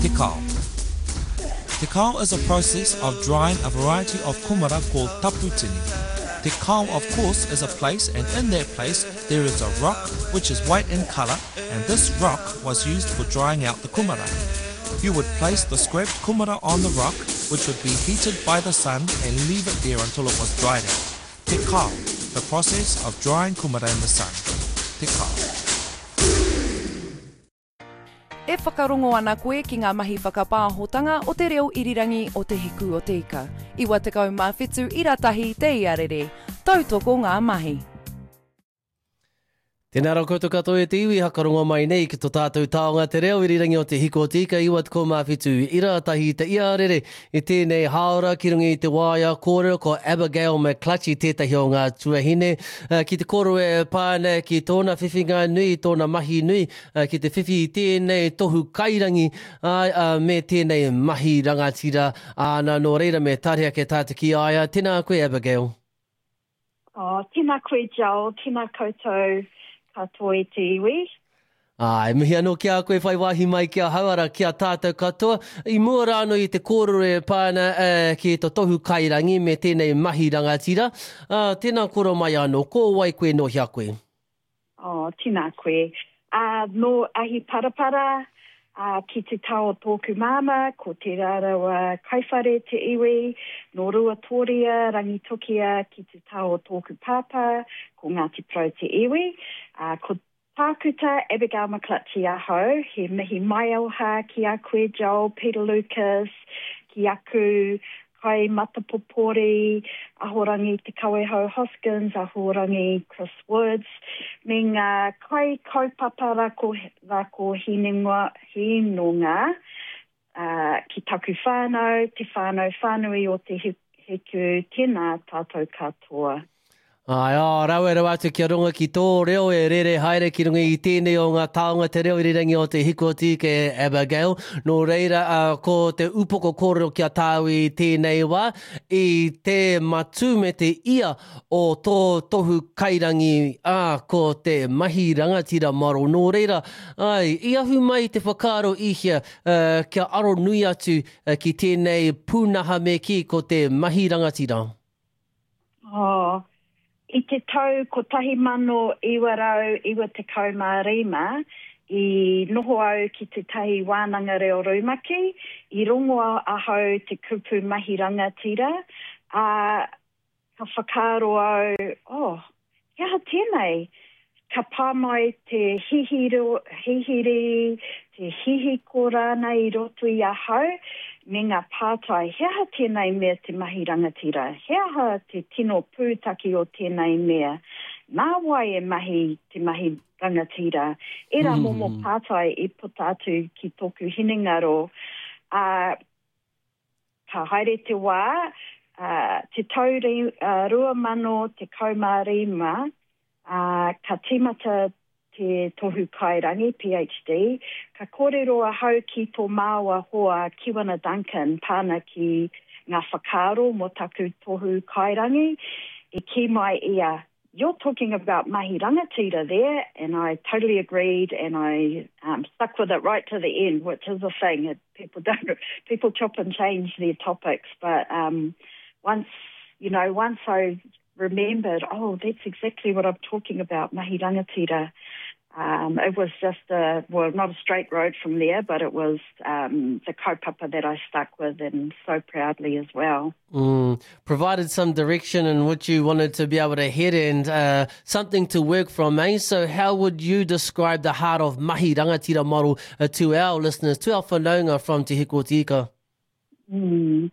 Te kao. Te kao is a process of drying a variety of kumara called taputini. Te kao, of course, is a place and in that place there is a rock which is white in colour and this rock was used for drying out the kumara. You would place the scraped kumara on the rock, which would be heated by the sun and leave it there until it was dried out. Te kao, the process of drying kumara in the sun. Te kao. E whakarongo ana koe ki ngā mahi whakapāhotanga o te reo irirangi o Te Hiku o Te Ika. 97 ira tahi te iarere. Tautoko ngā mahi. Tēnā rā koutou katoa e te iwi, hakarongo mai nei ki to tātou taonga te reo irirangi o Te Hiku o Te Ika 97 ira tahi te iarere i tēnei hāora ki runga i te waea kōrero ko Abigail McClutchie tētahi o ngā tuahine ki te kōrero e pā ana ki tōna whiwhinga nui, tōna mahi nui ki te whiwhi i tēnei tohu kairangi me tēnei mahi rangatira āna nō reira me tare ake tātou ki a ia. Tēnā koe Abigail. Oh, tēnā koe Joel, tēnā koutou katoa e te iwi. Ā, e mihi anō ki a koe whai wāhi mai ki ahau, arā, ki a tātou katoa. I mua rā anō i te kōrero e pā ana ki to tohu kairangi me tēnei mahi rangatira, ā, tēnā koro mai anō, ko wai koe nō hea koe? Oh, tēnā koe. Ā, nō Ahiparapara, ā, ki te taha o tōku māmā, ko Te Rarawa Kaiwhare te iwi, nō Ruatōria, Rangitukia, ki te taha o tōku pāpā, ko Ngāti Porou te iwi. Ā, ko Tākuta Abigail McClutchie ahau, he mihi maioha ki a koe Joel Peter Lucas, ki aku Kai Matapopori, Ahorangi Te Kawehau Hoskins, Ahorangi Chris Woods, me ngā kai kaupapa rako, rako hinengoa, hinonga, ā, ki taku whānau, te whānau whānui o Te Hiku, tēnā tātou katoa. Āe, ā, rawe rawa atu kia rongo ki tō reo e rere haere ki runga i tēnei o ngā taonga te reo irirangi o Te Hiku o Tīke, Abigail. Nō reira, ā, ko te upoko kōrero ki a tāu i tēnei wā, i te matū me te ia o tō tohu kairangi, ā, ko te mahi rangatira maro. Nō reira, āe, i ahu mai te whakaaro i hea, ā, kia aro nui atu ki tēnei pūnaha me kī ko te mahi rangatira? Oh, i te tau 1995, i noho au ki tētahi wānanga reo rumaki, i rongo ahau te kupu mahi rangatira, ā, ka whakaaro au, oh, He aha tēnei? Ka pā mai te hihiro, hihiri, te hihiko rānei i roto i ahau, me ngā pātai, he aha tēnei mea te mahi rangatira? He aha te tino pūtake o tēnei mea? Nā wai e mahi te mahi rangatira? Ērā momo pātai i puta atu ki tōku hinengaro, ā, Ka haere te wā, ā, te tau 2015, ā, ka tīmata te tohu kairangi, PhD, ka kōrero ahau ki tō māua hoa Kiwana Duncan pāna ki ngā whakaaro mō taku tohu kairangi, i kī mai ia, You're talking about mahi rangatira there and I totally agreed and I um, stuck with it right to the end, which is a thing. It, people don't, people chop and change their topics, but um, once, you know, once I remembered, oh, that's exactly what I'm talking about, mahi rangatira. Um, it was just a, well, not a straight road from there, but it was um, the kaupapa that I stuck with and so proudly as well. Mm, provided some direction in which you wanted to be able to head and uh, something to work from, eh? So how would you describe the heart of Mahi Rangatira model uh, to our listeners, to our whanaunga from Te Hiku o Te Ika? Mm.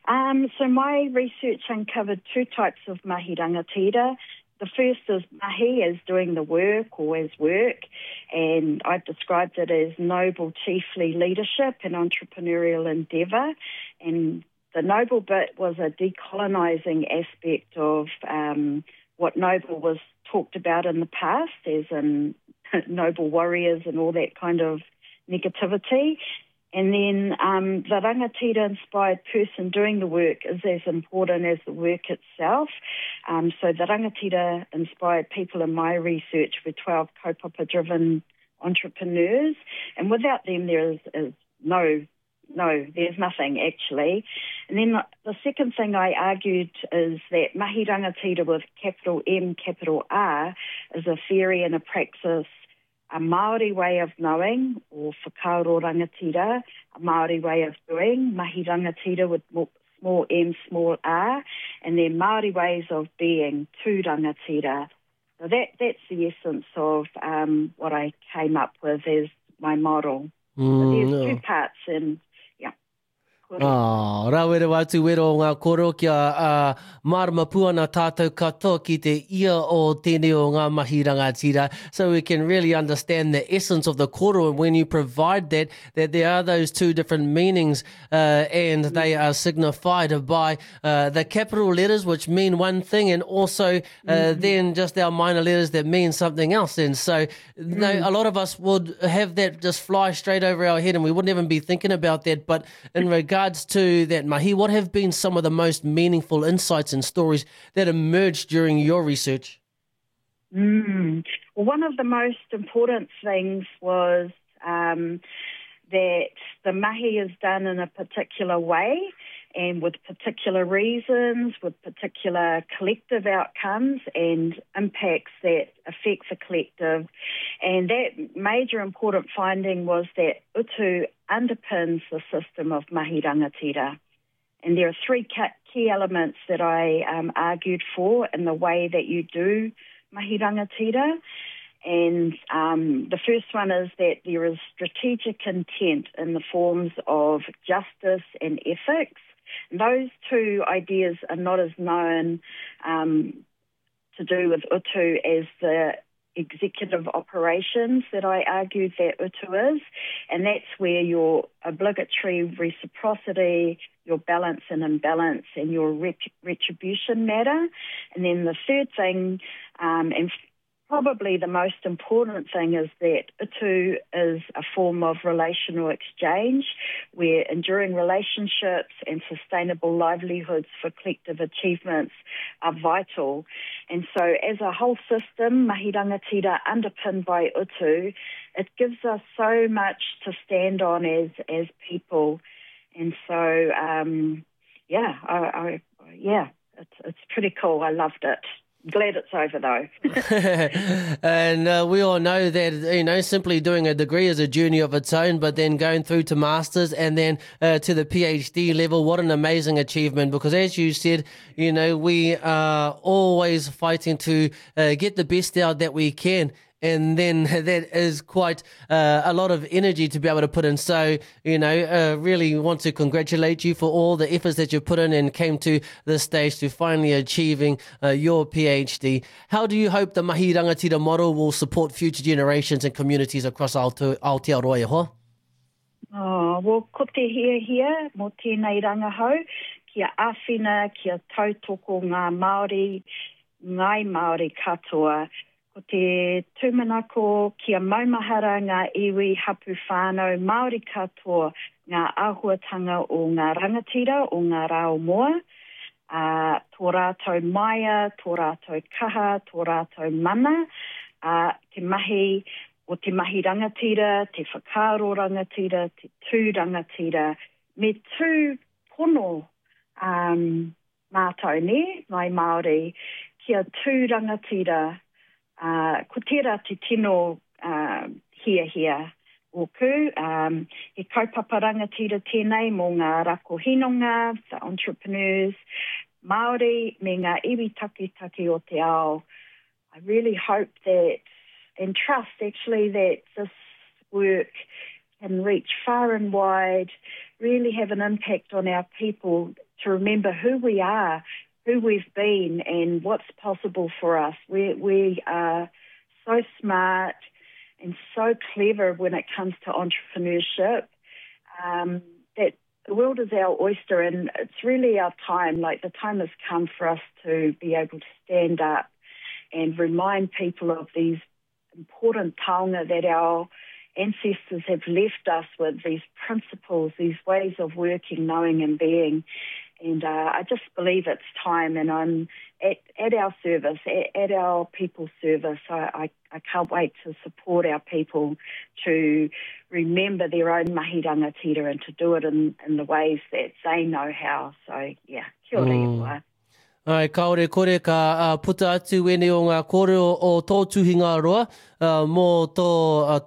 Um, so my research uncovered two types of mahi rangatira. The first is mahi as doing the work or as work, and I've described it as noble chiefly leadership and entrepreneurial endeavour. And the noble bit was a decolonising aspect of um, what noble was talked about in the past, as in noble warriors and all that kind of negativity. And then um, the rangatira-inspired person doing the work is as important as the work itself. Um, so the rangatira-inspired people in my research were 12 kaupapa-driven entrepreneurs, and without them there is, is no No, there's nothing actually. And then the second thing I argued is that mahi rangatira with capital M, capital R is a theory and a praxis, a Māori way of knowing, or whakaaro rangatira, a Māori way of doing, mahi rangatira with small m, small r, and then Māori ways of being, tū rangatira. So that, that's the essence of um, what I came up with as my model. Mm, there's no. two parts and yeah. Oh, rawe rawa atu wero o ngā kōrero kia uh, mārama pū ana tātou katoa ki te ia o tēnei o ngā mahi rangatira. So we can really understand the essence of the kōrero and when you provide that, that there are those two different meanings uh, and they are signified by uh, the capital letters which mean one thing and also uh, mm. then just our minor letters that mean something else. And so mm. no, a lot of us would have that just fly straight over our head and we wouldn't even be thinking about that. But in regards to that, Mahi, what have been some of the most meaningful insights and stories that emerged during your research? Mm. Well, one of the most important things was um, that the mahi is done in a particular way and with particular reasons, with particular collective outcomes and impacts that affect the collective. And that major important finding was that utu underpins the system of mahi rangatira. And there are three key elements that I um, argued for in the way that you do mahi rangatira. And um, the first one is that there is strategic intent in the forms of justice and ethics. And those two ideas are not as known um, to do with utu as the executive operations that I argued that utu is, and that's where your obligatory reciprocity, your balance and imbalance, and your retribution matter. And then the third thing, um, and Probably the most important thing is that utu is a form of relational exchange where enduring relationships and sustainable livelihoods for collective achievements are vital. And so as a whole system, mahi rangatira underpinned by utu, it gives us so much to stand on as, as people. And so, um, yeah, I, I, yeah, it's, it's pretty cool. I loved it. Glad it's over though. and uh, we all know that, you know, simply doing a degree is a journey of its own, but then going through to masters and then uh, to the PhD level, what an amazing achievement. Because as you said, you know, we are always fighting to uh, get the best out that we can and then that is quite uh, a lot of energy to be able to put in. So, you know, uh, really want to congratulate you for all the efforts that you put in and came to this stage to finally achieving uh, your PhD. How do you hope the Mahi Rangatira model will support future generations and communities across Aotearoa e hoa? Oh, well, ko te hiahia mō tēnei rangahau, kia āwhina, kia tautoko ngā Māori, ngāi Māori katoa Ko te tūmanako kia maumahara ngā iwi, hapu, whānau, Māori katoa ngā āhuatanga o ngā rangatira o ngā rā o mua, ā, tō rātou maia, tō rātou kaha, tō rātou mana, ā, te mahi o te mahi rangatira, te whakaaro rangatira, te tū rangatira, me tū pono, ā, mātou, nē, Ngāi Māori, kia tū rangatira, ā, ko tērā te tino ā, hiahia ōku. Ā, he kaupapa rangatira tēnei mō ngā rako hinonga, the entrepreneurs, Māori me ngā iwi taketake o te ao. I really hope that, and trust actually, that this work can reach far and wide, really have an impact on our people to remember who we are, who we've been, and what's possible for us. We, we are so smart and so clever when it comes to entrepreneurship um, that the world is our oyster and it's really our time. Like the time has come for us to be able to stand up and remind people of these important taonga that our ancestors have left us with, these principles, these ways of working, knowing and being. And uh, I just believe it's time, and I'm at, at our service, at, at our people's service. I, I, I can't wait to support our people to remember their own mahi rangatira and to do it in, in the ways that they know how. So, yeah, kia ora mm. Āe, kāore kore ka puta atu wēnei o ngā kōrero o tō tuhinga roa mō tō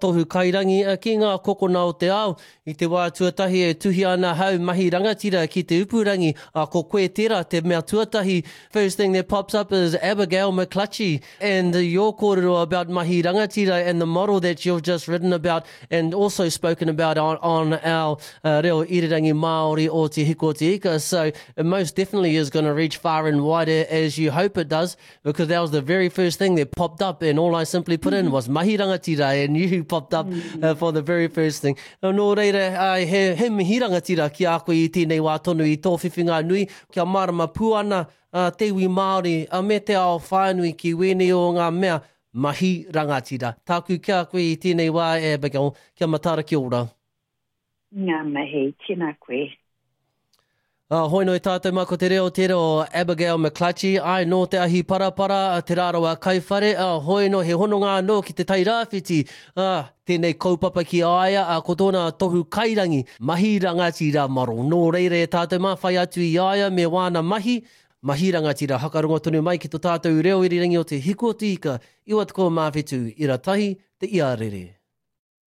tohu kairangi ki ngā kokona o te ao. I te wā tuatahi e tuhia ana hau mahi rangatira ki te upurangi, ā, ko koe tērā te mea tuatahi. First thing that pops up is Abigail McClutchie and your kōrero about mahi rangatira and the model that you've just written about and also spoken about on, on our uh, reo irirangi Māori o Te Hiku o Te Ika. So it most definitely is going to reach far and wide as you hope it does, because that was the very first thing that popped up and all I simply put in was mahi rangatira and you popped up uh, for the very first thing. Nō reira, uh, he, he mihi rangatira ki a koe i tēnei wā tonu i tō whiwhinga nui, kia mārama pū ana uh, te iwi Māori uh, me te ao whānui ki wēnei o ngā mea Mahi rangatira. Tāku ki a koe i tēnei wā, Abigail, kia mataara kia ora. Ngā mihi, tēnā koe. Uh, hoi noi tātou mā ko te reo tērā o Abigail McClutchie, ai nō te ahi parapara, te rārawa kaiwhare, uh, hoi no he hononga anō ki te Tairāwhiti, uh, tēnei kaupapa ki a ia, uh, ko tōna tohu kairangi, mahi rangatira maro. Nō reira e tātou mā, whai atu i a ia me wāna mahi, Mahi rangatira, hakarongo tonu mai ki to tātou reo irirangi o te Hiku o te Ika, 97 ira tahi, te iarere.